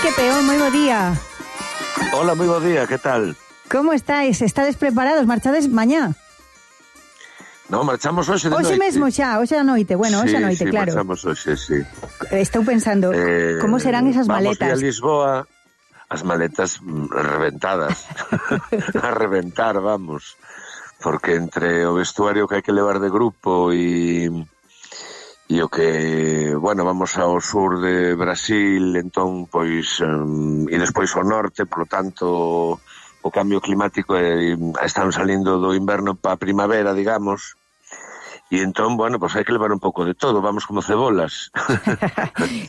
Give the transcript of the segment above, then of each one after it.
Quique Peón, moi bo día. Hola, moi bo día, que tal? Como estáis? Estades preparados? Marchades mañá? Non, marchamos hoxe de noite. Hoxe mesmo xa, hoxe a noite. Bueno, hoxe a noite, sí, claro. marchamos hoxe, sí. Estou pensando, como serán esas maletas? Vamos a Lisboa, as maletas reventadas. A reventar, vamos. Porque entre o vestuario que hai que levar de grupo e o que, bueno, vamos ao sur de Brasil, entón, pois, e despois ao norte, por lo tanto, o cambio climático están salindo do inverno pa primavera, digamos, e entón, bueno, pois hai que levar un pouco de todo, vamos como cebolas.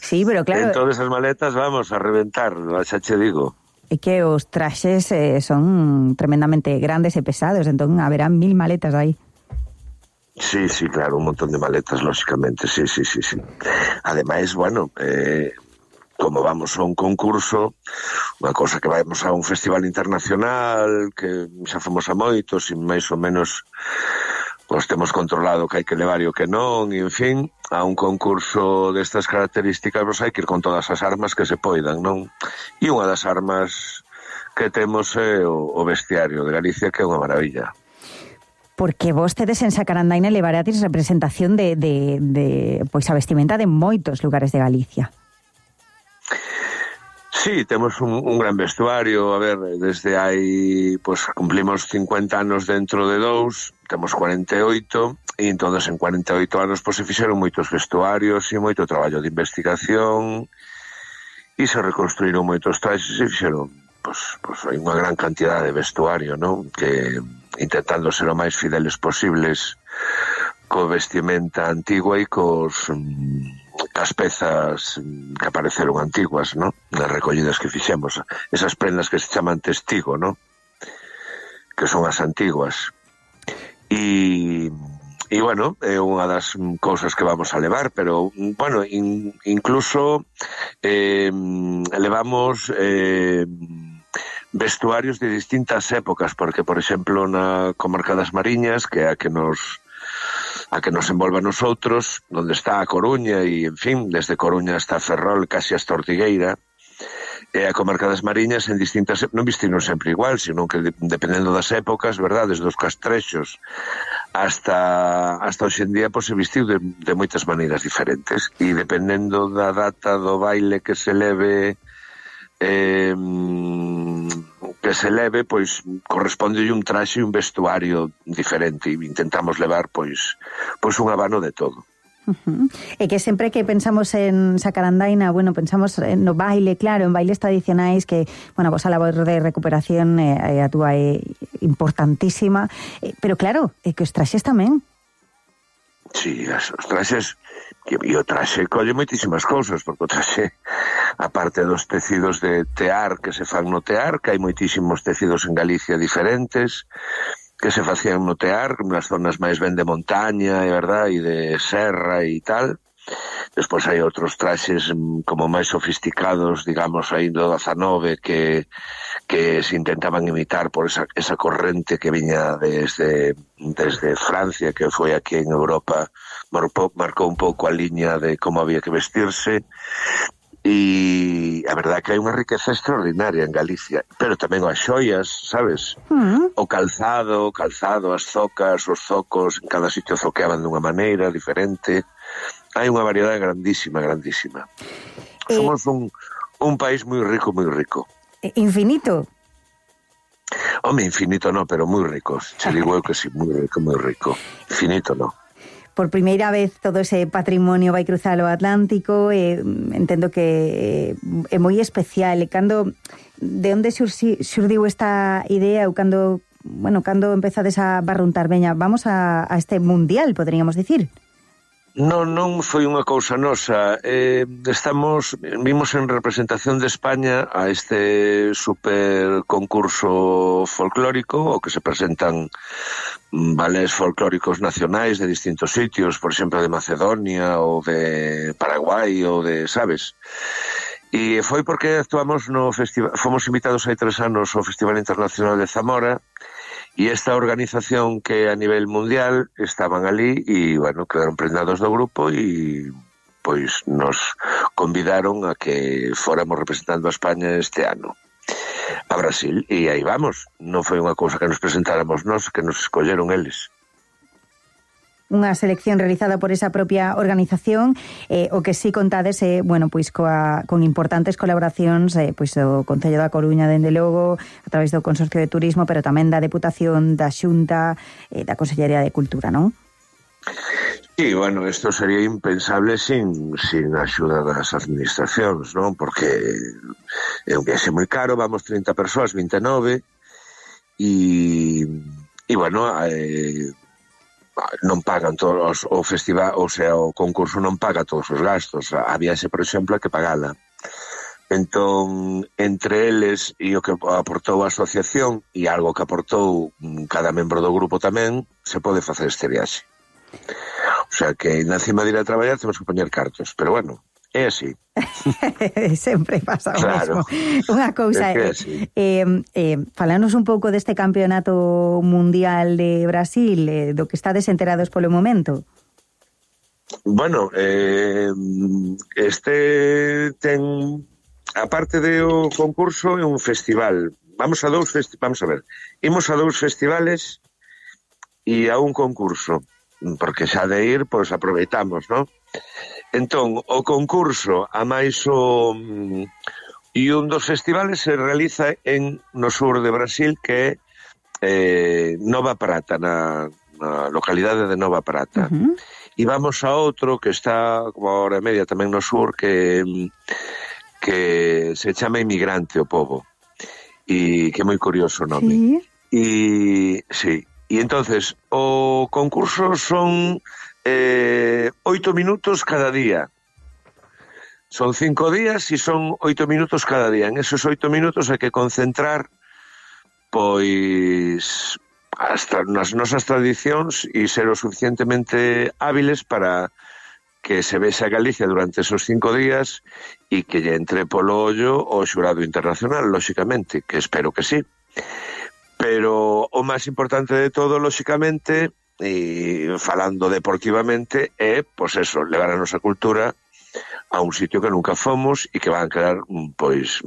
Sí, pero claro... Entón, esas maletas vamos a reventar, xa che digo. É que os traxes son tremendamente grandes e pesados, entón haberá 1000 maletas aí. Sí, claro, un montón de maletas, lógicamente, sí. Ademais, bueno, como vamos a un concurso, unha cosa que vamos a un festival internacional, que xa fomos a moitos, e máis ou menos pois temos controlado que hai que levar e o que non, e en fin, a un concurso destas características, pois hai que ir con todas as armas que se poidan, non? E unha das armas que temos é o vestiario de Galicia, que é unha maravilla. Porque vos tedes en Sacarandaina levarades representación de pois a vestimenta de moitos lugares de Galicia. Sí, temos un gran vestuario, a ver, desde hai, pois cumplimos 50 anos dentro de 2, temos 48, e entonces en 48 anos pois se fixeron moitos vestuarios e moito traballo de investigación, e se reconstruíron moitos traxes e fixeron, pois hai unha gran cantidad de vestuario, non? Que intentando ser o máis fideles posibles co vestimenta antigua e cas pezas que apareceron antiguas, non? Nas recollidas que fixemos, esas prendas que se chaman testigo, non? Que son as antiguas. E bueno, é unha das cousas que vamos a levar, pero, bueno, incluso levamos vestuarios de distintas épocas, porque, por exemplo, na comarca das Mariñas, que é a que nos envolve a nosotros, onde está a Coruña, e, en fin, desde Coruña hasta Ferrol, casi hasta Ortigueira, e a comarca das Mariñas en distintas... Non vestiron sempre igual, sino que dependendo das épocas, verdad, desde os castrexos hasta hoxe en día, pois se vestiu de moitas maneiras diferentes, e dependendo da data do baile que se leve... pois corresponde un traxe e un vestuario diferente, e intentamos levar pois un abano de todo. É que sempre que pensamos en Sacarandaina, bueno, pensamos no baile, claro, en bailes tradicionais que, bueno, vos a labor de recuperación a túa é importantísima, pero claro, é que os traxes tamén. Sí, os traxes, e o traxe colle moitísimas cousas, porque o traxe, aparte dos tecidos de tear que se fan no tear, que hai moitísimos tecidos en Galicia diferentes, que se facían no tear, nas zonas máis ben de montaña, é verdad, e de serra e tal. Despois hai outros traxes como máis sofisticados, digamos, aí do 19, que se intentaban imitar por esa corrente que viña desde Francia, que foi aquí en Europa, marcou un pouco a liña de como había que vestirse. E a verdade que hai unha riqueza extraordinaria en Galicia, pero tamén as xoias, sabes? O calzado, as zocas, os zocos, en cada sitio zoqueaban dunha maneira diferente. Hai unha variedade grandísima. Somos un país moi rico. Infinito? Home, infinito no, pero moi ricos. Se digo eu que sí, moi rico. Infinito no. Por primeira vez todo ese patrimonio vai cruzar o Atlántico, entendo que é moi especial. De onde xurdiu esta idea ou cando empezades a barruntar, veña, vamos a este mundial, poderíamos dicir? Non foi unha cousa nosa. Vimos en representación de España a este super concurso folclórico, o que se presentan balés folclóricos nacionais de distintos sitios, por exemplo, de Macedonia ou de Paraguai ou de, sabes? E foi porque actuamos no festival, fomos invitados hai 3 anos ao Festival Internacional de Zamora, e esta organización que a nivel mundial estaban ali e, bueno, quedaron prendados do grupo e pois nos convidaron a que fóramos representando a España este ano a Brasil, e aí vamos. Non foi unha cousa que nos presentáramos nós, que nos escolleron eles. Unha selección realizada por esa propia organización, o que sí contades bueno, pois con importantes colaboracións pois do Concello da Coruña, dende logo, a través do Consorcio de Turismo, pero tamén da Deputación, da Xunta, da Consellería de Cultura, non? Sí, bueno, isto sería impensable sin a axuda das administracións, non? Porque é un viaxe moi caro, vamos 30 persoas, 29, e bueno, non pagan todos o festival, o sea, o concurso non paga todos os gastos. A viaxe, por exemplo, hai que pagala. Entón, entre eles e o que aportou a asociación e algo que aportou cada membro do grupo tamén, se pode facer este viaxe. O sea, que na cima de ir a traballar temos que poñer cartos, pero bueno, é así. Sempre pasa o claro. mesmo. Unha cousa, falanos un pouco deste campeonato mundial de Brasil, do que estades enterados polo momento. Bueno, este ten, aparte do concurso, é un festival. Vamos a ver, imos a 2 festivales e a un concurso, porque xa de ir, pois aproveitamos, non? Entón, o concurso a máis e un dos festivales se realiza no sur de Brasil, que é Nova Prata, na localidade de Nova Prata. E vamos a outro que está como a hora e media tamén no sur, que se chama Inmigrante o pobo, e que é moi curioso o nome. Sí. E entonces o concurso son 8 minutos cada día. Son 5 días e son 8 minutos cada día. En esos 8 minutos hai que concentrar pois hasta nas nosas tradicións e ser o suficientemente hábiles para que se vexa Galicia durante esos 5 días e que lle entre polo ollo o xurado internacional, lóxicamente, que espero que sí. Pero o máis importante de todo, lóxicamente, e falando deportivamente, é, pois eso, levar a nosa cultura a un sitio que nunca fomos e que van a quedar, pois,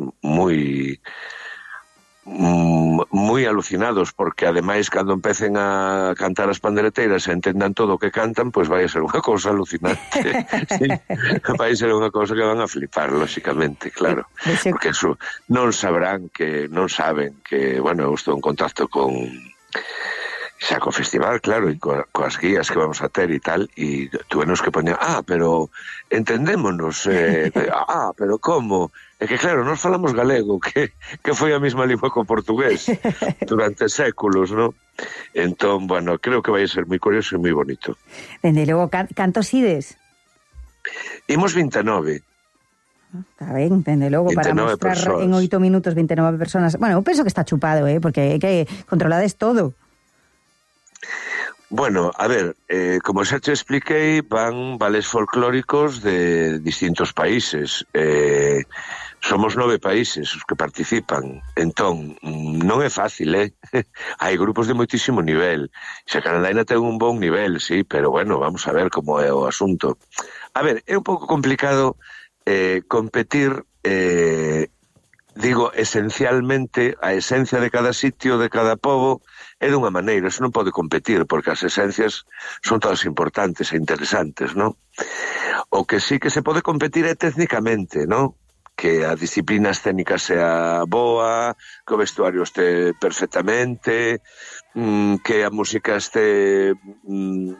moi alucinados, porque ademais cando empecen a cantar as pandereteiras e entendan todo o que cantan, pois vai a ser unha cousa alucinante. Sí, vai a ser unha cousa que van a flipar, lóxicamente, claro, porque eso non saben que, bueno, eu estou en contacto con xa co festival, claro, e coas guías que vamos a ter e tal, e tuvenos que poñer, pero entendémonos, pero como? É que claro, nós falamos galego, que foi a mesma lingua co portugués durante séculos, non? Entón, bueno, creo que vai a ser moi curioso e moi bonito. Dende logo, cantos ides? Imos 29. Está ben, dende logo, para mostrar persoas. En 8 minutos 29 personas. Bueno, eu penso que está chupado, porque é que controlades todo. Bueno, a ver, como xa te expliquei, van vales folclóricos de distintos países. Somos 9 países os que participan. Entón, non é fácil, Hai grupos de moitísimo nivel. Xa Canadá ainda ten un bon nivel, sí, pero bueno, vamos a ver como é o asunto. A ver, é un pouco complicado competir, digo, esencialmente, a esencia de cada sitio, de cada pobo, é dunha maneira, eso non pode competir, porque as esencias son todas importantes e interesantes, non? O que sí que se pode competir é técnicamente, non? Que a disciplina escénica sea boa, que o vestuario este perfectamente, que a música este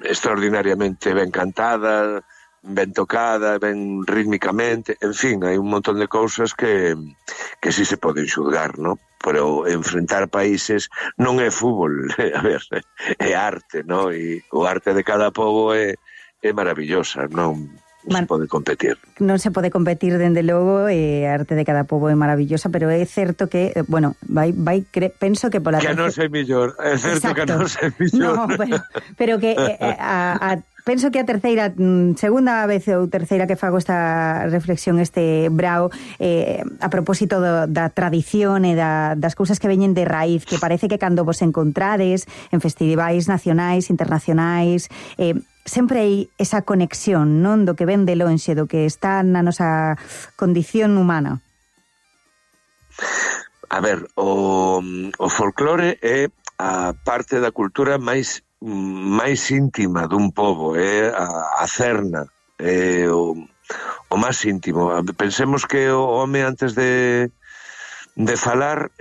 extraordinariamente ben cantada, ben tocada, ben rítmicamente, en fin, hai un montón de cousas que sí se poden xulgar, non? Pero enfrentar países non é fútbol, a ver, é arte, non? E o arte de cada pobo é maravillosa, non se pode competir. Non se pode competir, dende logo, a arte de cada pobo é maravillosa, pero é certo que, bueno, penso que pola... Que non sei millor, é certo. Exacto. Que non sei millor. No, pero que penso que a terceira, segunda vez ou terceira que fago esta reflexión, este brao, a propósito da tradición e das cousas que veñen de raíz, que parece que cando vos encontrades en festivais nacionais, internacionais, sempre hai esa conexión, non? Do que ven de lonxe, do que está na nosa condición humana. A ver, o folclore é a parte da cultura máis íntima dun pobo, é a cerna, é o máis íntimo. Pensemos que o home antes de falar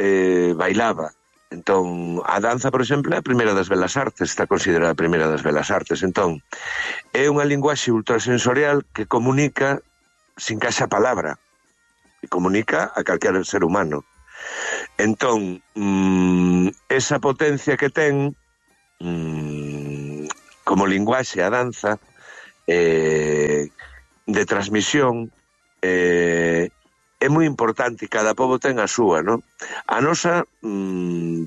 bailaba. Entón, a danza, por exemplo, é a primeira das belas artes, está considerada a primeira das belas artes. Entón, é unha linguaxe ultrasensorial que comunica sin que haxa palabra, e comunica a calquera ser humano. Entón, esa potencia que ten como linguaxe a danza de transmisión é moi importante, cada pobo ten a súa, non? A nosa,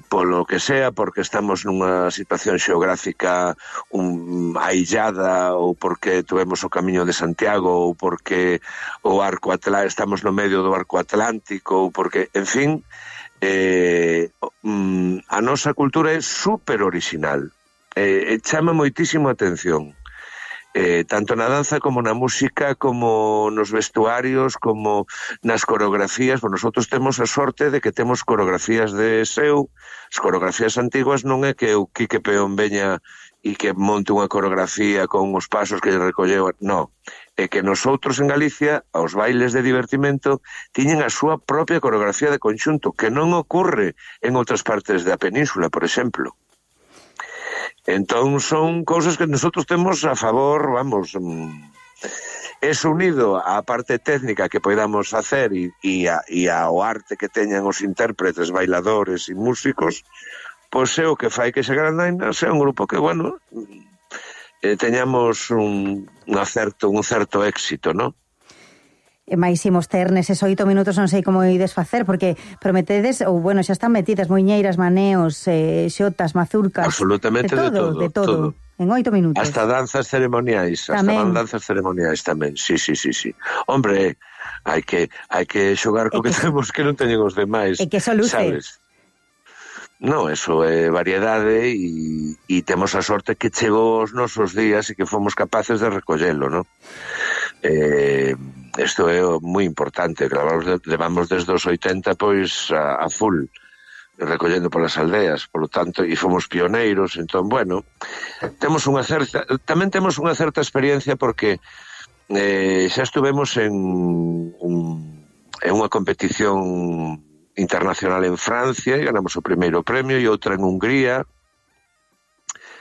polo que sea, porque estamos nunha situación xeográfica aillada, ou porque tuvemos o Camiño de Santiago, ou porque estamos no medio do arco atlántico, ou porque, en fin, a nosa cultura é super original, chama moitísimo a atención. Tanto na danza como na música, como nos vestuarios, como nas coreografías. Nosotros temos a sorte de que temos coreografías de seu. As coreografías antiguas non é que o Quique Peón veña e que monte unha coreografía con os pasos que lle recolleu, non. É que nosotros en Galicia, aos bailes de divertimento, tiñen a súa propia coreografía de conxunto, que non ocorre en outras partes da península, por exemplo. Entón son cousas que nosotros temos a favor, vamos, eso unido á parte técnica que podamos facer e ao arte que teñan os intérpretes, bailadores e músicos, pois é o que fai que esa Grandaina sea un grupo que, bueno, teñamos un certo éxito, non? E máis imos ter neses 8 minutos, non sei como ides facer, porque prometedes, ou bueno, xa están metidas moiñeiras, maneos, xotas, mazurcas, absolutamente de todo. En 8 minutos. Hasta danzas ceremoniais, tamén. Sí. Hombre, hai que xogar co que temos que non teñen os demais. E que eso luce. Sabes? No, eso é variedade e temos a sorte que chegou os nosos días e que fomos capaces de recollelo, non? Isto é moi importante, levamos desde os 80 pois a full recollendo polas aldeas, polo tanto, e fomos pioneiros. Entón, bueno, tamén temos unha certa experiencia porque xa estuvemos en unha competición internacional en Francia e ganamos o primeiro premio, e outra en Hungría.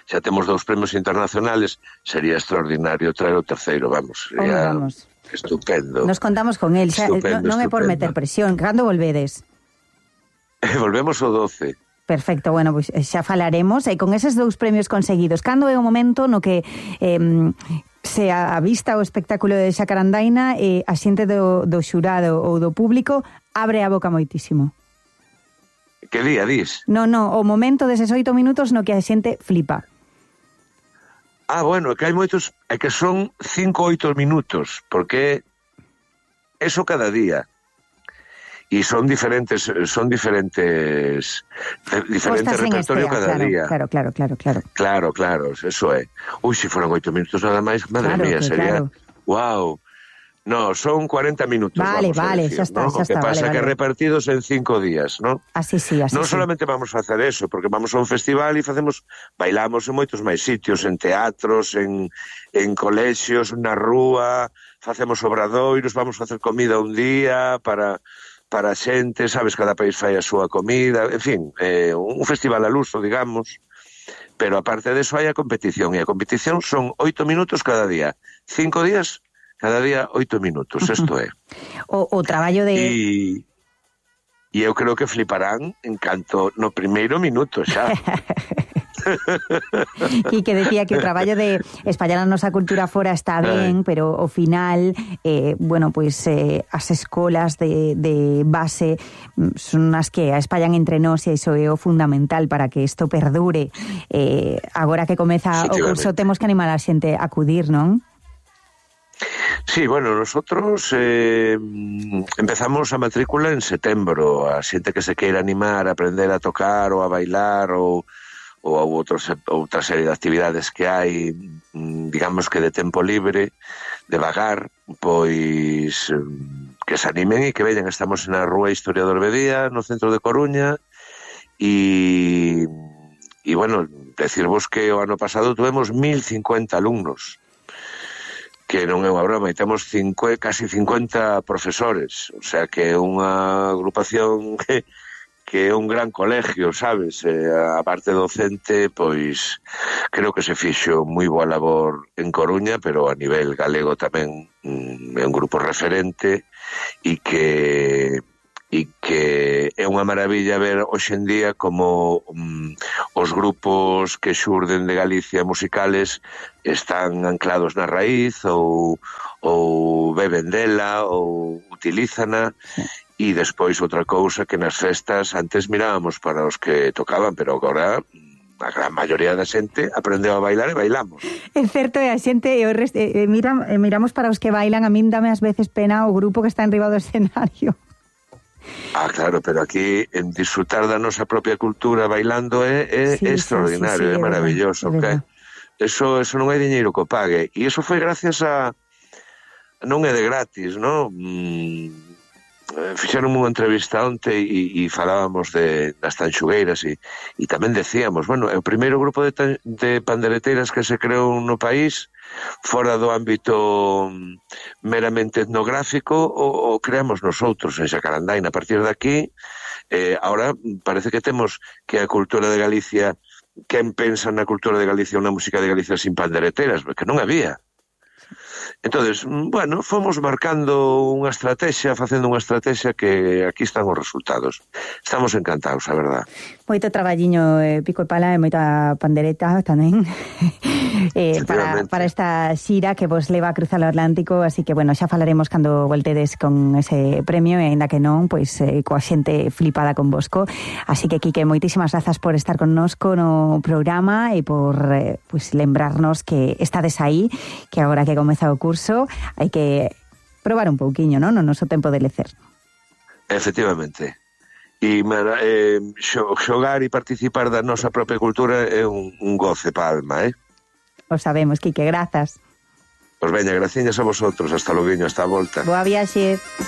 Xa temos 2 premios internacionales, sería extraordinario traer o terceiro, vamos, sería estupendo. Nos contamos con el, non é por meter presión. Cando volvedes? Volvemos o 12. Perfecto, bueno, pois xa falaremos. E con eses 2 premios conseguidos, cando é o momento no que se a vista o espectáculo de Xacarandaina e a xente do xurado ou do público abre a boca moitísimo? Que día dis? No, o momento deses 8 minutos no que a xente flipa. Bueno, é que hai moitos, é que son 5-8 minutos, porque eso cada día. E son diferentes repertorio cada día. Claro, eso é. Se foran 8 minutos nada máis, madre mía, sería... Wow. No, son 40 minutos. Vale, decir, xa está. ¿no? O que pasa que repartidos en 5 días, ¿no? Así sí. Non solamente vamos a facer eso, porque vamos a un festival e bailamos en moitos máis sitios, en teatros, en colexios, na rúa, facemos obradoiros, vamos a facer comida un día para xente, sabes, cada país fai a súa comida, en fin, un festival al uso, digamos, pero aparte de eso hai a competición, e a competición son 8 minutos cada día, 5 días cada día 8 minutos, isto é. O traballo de... E eu creo que fliparán en canto no primeiro minuto xa. E que decía que o traballo de espallar a nosa cultura fora está ben, pero ao final, bueno, pois as escolas de base son as que a espallan entre nós, e iso é o fundamental para que isto perdure. Agora que comeza o curso temos que animar a xente a acudir, non? Sí, bueno, nosotros empezamos a matrícula en setembro. A xente que se queira animar a aprender a tocar ou a bailar ou ou outra serie de actividades que hai, digamos que de tempo libre, de vagar, pois que se animen e que veñan. Estamos na Rúa Historiador Bedía, no centro de Coruña, e bueno, decirvos que o ano pasado tuvemos 1050 alumnos, que non é unha broma, e temos casi 50 profesores, o sea que é unha agrupación que é un gran colegio, sabes? A parte docente, pois creo que se fixo moi boa labor en Coruña, pero a nivel galego tamén é un grupo referente e que é unha maravilla ver hoxe en día como os grupos que xurden de Galicia musicales están anclados na raíz ou beben dela ou utilízana. E despois outra cousa que nas festas antes mirábamos para os que tocaban, pero agora a gran maioría da xente aprendeu a bailar e bailamos. É certo, e a xente miramos para os que bailan. A min dame ás veces pena o grupo que está enriba do escenario. Claro, pero aquí en disfrutar da nosa propia cultura bailando é extraordinario, é maravilloso. Okay? Eso non hai diñeiro que o pague. E iso foi gracias a... non é de gratis, non? Fixeron unha entrevista onte e falábamos das tanxugueiras e tamén decíamos, bueno, é o primeiro grupo de pandereteiras que se creou no país fora do ámbito meramente etnográfico o creamos nosotros en Xacarandaina. A partir de aquí, ahora parece que temos que a cultura de Galicia, quen pensa na cultura de Galicia, unha música de Galicia sin pandereteiras, porque non había. Entonces, bueno, fomos marcando unha estrategia, facendo unha estrategia que aquí están os resultados. Estamos encantados, a verdad. Moito traballiño, pico e pala e moita pandereta tamén para esta xira que vos leva a cruzar o Atlántico, así que, bueno, xa falaremos cando voltedes con ese premio e ainda que non, pois coa xente flipada con vosco. Así que, Quique, moitísimas grazas por estar connosco no programa e por pois lembrarnos que estades aí, que agora que comeza o curso hai que probar un pouquiño, non? No noso tempo de lecer. Efectivamente. E xogar e participar da nosa propia cultura é un goce para a alma, O sabemos, Quique, grazas. Pois veña, graciñas a vosotros, hasta loguiño, hasta a volta. Boa viaxe.